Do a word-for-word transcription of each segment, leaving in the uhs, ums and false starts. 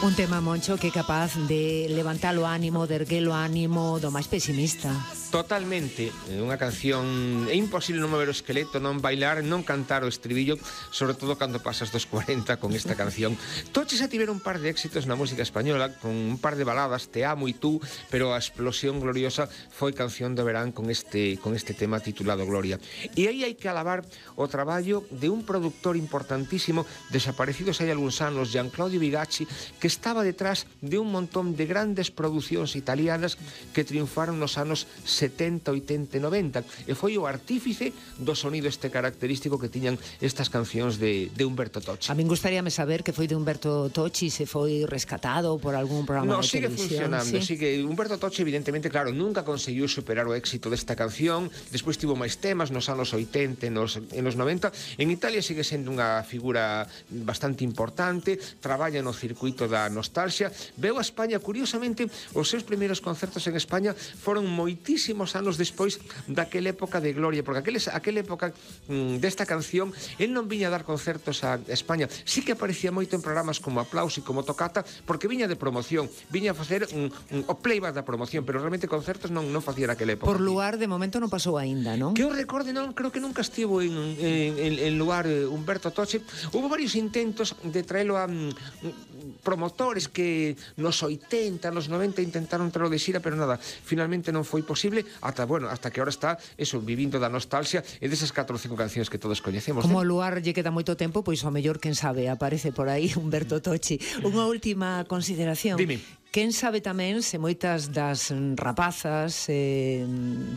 Un tema, Moncho, que é capaz de levantar o ánimo, de erguer o ánimo do máis pesimista. Totalmente, é unha canción. É imposible non mover o esqueleto, non bailar, non cantar o estribillo, sobre todo cando pasas dos cuarenta con esta canción. Toche xa tiveron un par de éxitos na música española, con un par de baladas, Te amo e tú, pero a explosión gloriosa foi Canción de Verán con este, con este tema titulado Gloria. E aí hai que alabar o traballo de un productor importantísimo, desaparecidos hai algúns anos, Gianclaudio Bigacci, que estaba detrás de un montón de grandes producións italianas que triunfaron nos anos setenta, oitenta e noventa, e foi o artífice do sonido este característico que tiñan estas cancións de, de Umberto Tocci. A min gustaríame saber que foi de Umberto Tocci, se foi rescatado por algún programa no, de sigue televisión. Funcionando, ¿sí? sigue. Umberto Tocci, evidentemente, claro, nunca conseguiu superar o éxito desta canción. Despois tivo máis temas nos anos oitenta e nos, e nos noventa. En Italia sigue sendo unha figura bastante importante, traballa no circuito da nostalgia. Veu a España, curiosamente, os seus primeiros concertos en España foron moitísimos anos despois daquela época de gloria, porque aqueles, aquela época mm, desta canción, el non viña a dar concertos a España. Sí que aparecía moito en programas como Aplauso e como Tocata, porque viña de promoción, viña a facer un, un, o playback da promoción, pero realmente concertos non, non facía naquela época. Por lugar, de momento non pasou aínda, non? Que eu recorde, non, creo que nunca estivo en, en, en, en lugar eh, Umberto Tocci. Hubo varios intentos de traelo a mm, promotores que nos oitenta, nos noventa intentaron traelo de xira, pero nada, finalmente non foi posible, ata, bueno, hasta que ahora está eso, vivindo da nostalgia e desas catro ou cinco cancións que todos coñecemos. Como o lugar lle queda moito tempo, pois o mellor, quen sabe, aparece por aí Umberto Tocci. Unha última consideración. Dime. Quen sabe tamén se moitas das rapazas eh,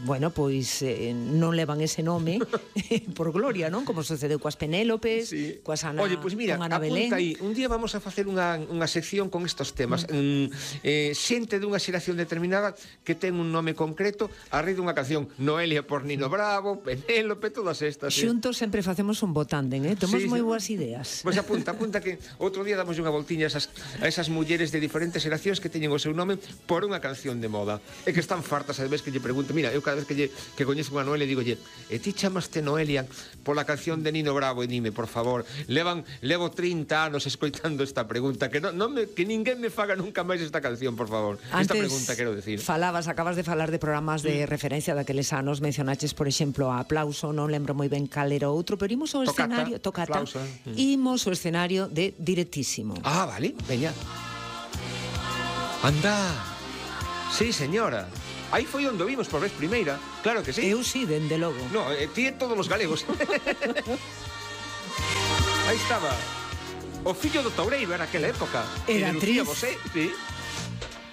bueno, pois eh, non levan ese nome por gloria, non? Como sucedeu coas Penélopes, sí. coas Ana, Oye, pois mira, con Ana Belén. Apunta aí, un día vamos a facer unha, unha sección con estos temas. Mm. Eh, xente dunha xeración determinada que ten un nome concreto a raíz dunha canción. Noelia por Nino Bravo, Penélope, todas estas. Eh. Xuntos sempre facemos un botanden, eh? Temos sí, moi sí. boas ideas. Pois apunta, apunta que outro día damos unha voltiña a esas, a esas mulleres de diferentes xeracións que teñen o seu nome por unha canción de moda e que están fartas a vez que lle pregunto. Mira, eu cada vez que lle que coñezo unha Noelia digo, lle, e ti chamaste Noelia pola canción de Nino Bravo? E dime, por favor, levan levo trinta anos escoitando esta pregunta, que non, non me, que ninguén me faga nunca máis esta canción, por favor. Antes esta pregunta quero decir. Falabas, acabas de falar de programas de mm. referencia daqueles anos, mencionaches, por exemplo, a Aplauso, non lembro moi ben cal era outro, pero imos ao Tocata, escenario, Tocata, Aplauso, mm. imos ao escenario de Directísimo. Ah, vale, veña. Anda. Sí, señora. Aí foi onde vimos por vez primeira. Claro que sí. Eu sí, dende logo. No, eh, ti e todos os galegos. Aí estaba o fillo do Toureiro, era aquela época. Era Lucía actriz. Bosé, sí.